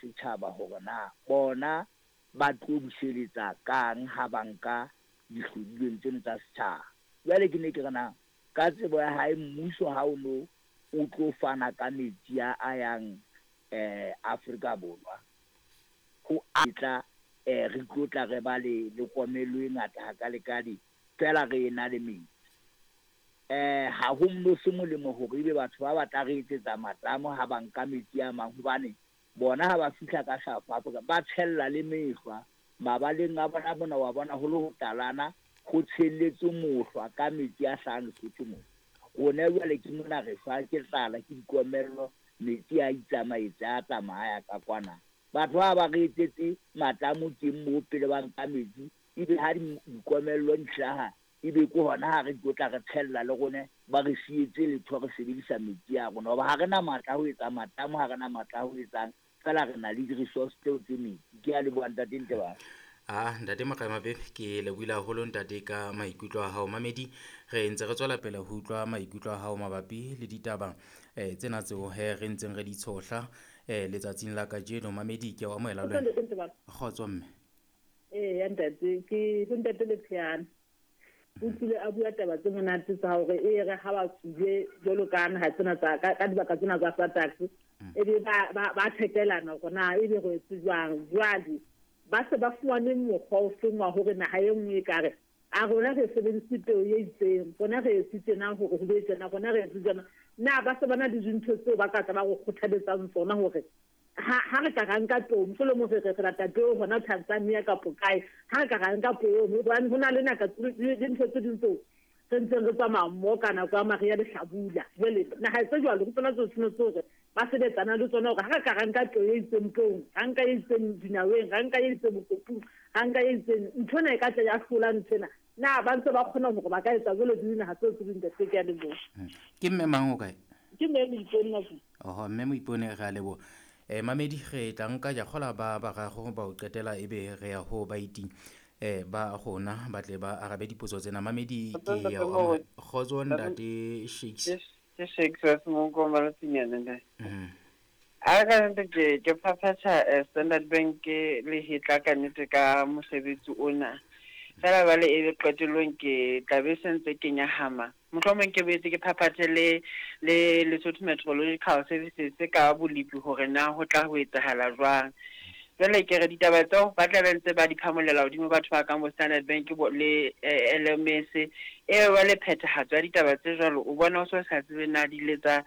setjhaba hore na bona ba tlo buseletsa kang ha ba nka dihlodilweng tseno tsa setjhaba. Jwale ke ne ke re na ka tsebo ya hae mmuso ha o no o tlo fana ka metsi a a yang Afrika Borwa ho a tla re tlo tla re ba le le komello e ngata hakalekale feela re ena le metsi. Ha ho no se molemo hore ebe batho ba batla re etsetsa matamo ha ba nka metsi a mang hobane bona ha ba fihla ka South Africa ba tshella le mehlwa mabaleng a bona mona wa bona ho le ho talana ho tshelletswe mohlwa ka metsi a hlahang Lesotho mona. Rona jwale ke mona re shwa ke tlala ke dikomello metsi a itsamaetse a tsamaya ka kwana. Batho ba ba re etsetse matamo teng moo pele ba nka metsi ebe ha dikomello di hlaha ebe ke hona ha re tlo tla re tshella le rone ba re sietse letho re sebedisa metsi a rona hoba ha re na matla a ho etsa matamo ha re na matla a ho etsang feela re na le di-resource tseo tse metsi. Ke a leboha ntate Ntebang. Ah, ntate Maqemabe, ke lebohile haholo ntate ka maikutlo a hao. Mamedi, re ntse re tswela pele ho utlwa maikutlo a hao mabapi le ditaba tsena tseo he re ntseng re di tshohla letsatsing la kajeno. Mamedi, ke a o amohela le wena. Kgotso mme. Eya ntate, ke ho ntate Lepheana. O tlile a bua taba tse monate tsa hore e re ha ba tswile jwalo ka naha tsena tsa ka dibaka tsena tsa SADC e be ba thekelana hore na ebe re etse jwang. Jwale ba se ba fumane mokgwa o feng wa hore naha e nngwe e ka re a rona re sebedise peo e itseng, rona re etse tjena hore ho be tjena, rona re etse tjena. Na ba se ba na le dintho tseo ba ka tla ba go kgothaletsang tsona hore ha re ka ra nka peo, mohlolomong re re lata peo hona Tanzania kapo kae, ha re ka ra nka peo hobane ho na le naka le ntho tse ding tseo re ntseng re tsamaya mmoho ka nako ya mariha le hlabula. Jwale naha tse jwalo ke tsona tseo tshwanetse hore ba sebetsana le tsona hore ha re ka ra nka peo e itseng peong, ra nka e itseng dinaweng, ra nka e itseng mokopung, ra nka e itseng, ntho ena e ka tla ya hlola ntho ena. Na ba ntse ba kgona hore ba ka etsa jwalo le dinaha tseo tse ding ntate, ke a leboha. Ke mme mang o kae? Ke mme Moipone Makubu. Oho, mme Moipone, re a leboha. Mamedi, re tla nka jakgola ba bararo ba o qetela ebe re ya ho baeti ba rona ba tle ba arabe dipotso tsena. Mamedi, ke ya o amohela. Kgotso ntate Shakes. Ke Shakes wa Semonko Malatsinyana ntate. A ka nnete ke phaphatha Standard Bank le hetla ka nnete ka mosebetsi ona. Fela jwale e be qetellong ke tla be se ntse ke nyahama. Mohlomong ke boetse ke phaphathe le Lesotho Meteorological Services ka bolepi hore na ho tla ho etsahala jwang. Jwale ke re ditaba tseo ba tla be ntse ba di phamolela hodimo batho ba kang bo Standard Bank bo le LMS e jwale phethahatso ya ditaba tse jwalo o bona o so sa tsebe na di ile tsa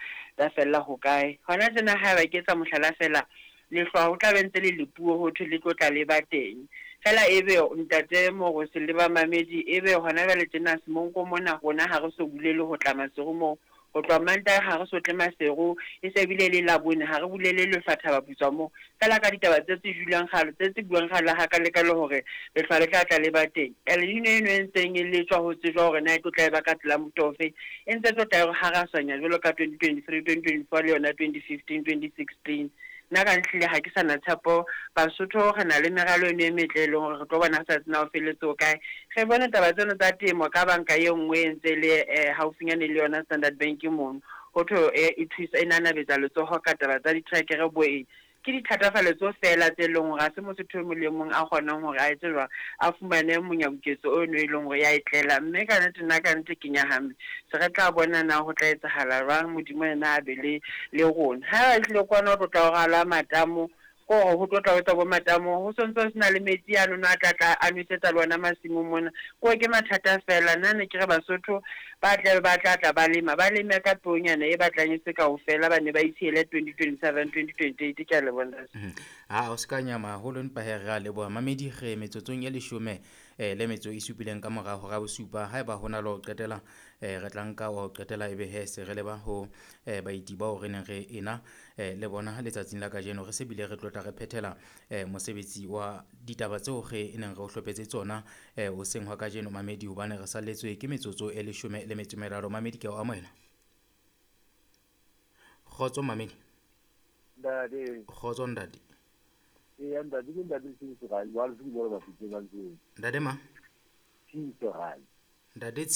fella hokae. Hona tjena haeba ke etsa mohlala fela lehlwa ho tla be ntse le lepuo ho thwe le tlo tla le ba teng. Fela ebe ntate Morose le ba mamedi ebe hona jwale tjena Semonko mona rona ha re so bulele ho tla Maseru moo. Ho tloha Mantaha ha re so tle Maseru e se bile le Labone ha re bulele lehlwa Thabaputswa moo. Fela ka ditaba tse tse julwang kgale tse tse buang kgale ha ka leka le hore lehlwa le tla tla le ba teng. El Nino eno e ntseng e letswa ho tsejwa hore na e tlo tla e ba ka tsela mofuta ofe e ntse tlo tla e re harasanya jwalo ka 2023, 2024 le yona 2015, 2016. Nna ka ntlhile ha ke sa na tshepo Basotho re na le meralo eno e metle e leng hore re tlo bona sa tsena ho felletse ho kae. Re bone taba tseno tsa temo ka banka e nngwe e ntse le haufinyane le yona Standard Bank mono. Ho thwe e thusa e nanabetsa letsoho ka taba tsa ditrekere bo eng. Ke dithatafalletso fela tse leng hore ha se Mosotho e mong le mong a kgonang hore a etse jwang a fumane monyabuketso ono e leng hore ya e tlela. Mme ka nnete nna ka nnete ke nyahame. Se re tla bona na ho tla etsahala jwang Modimo yena a be le le rona. Ha ba tlile kwana ho tlo tla ho ralwa matamo ko hore ho tlo tla ho etsa bo matamo ho sontso ho sena le metsi ano no a tla tla a nwesetsa le ona masimong mona. Ko ke mathata fela nna ne ke re Basotho ba tla ba tla tla ba lema ba leme ka peonyana e batlang e se kaofela ba ne ba itshiele 2027 2028 ke a leboha ntate. Ha o se ka nyama haholo empa he re a leboha. Mamedi re metsotsong e leshome le metso e supileng ka mora hora bosupa. Haeba ho na le ho qetela re tla nka wa ho qetela ebe he se re leba ho baeti bao re neng re ena le bona letsatsing la kajeno. Re se bile re tlotla re phethela mosebetsi wa ditaba tseo re neng re o hlophetse tsona hoseng hwa kajeno mamedi hobane re salletswe ke metsotso e leshome le metso e meraro. Mamedi ke a o amohela. Kgotso mamedi. Ntate. Kgotso ntate. Eya ntate ke ntate Tshiso Rai, wa le se bua ba fitse ba ntse. Ntate ma? Tshiso Rai. Ntate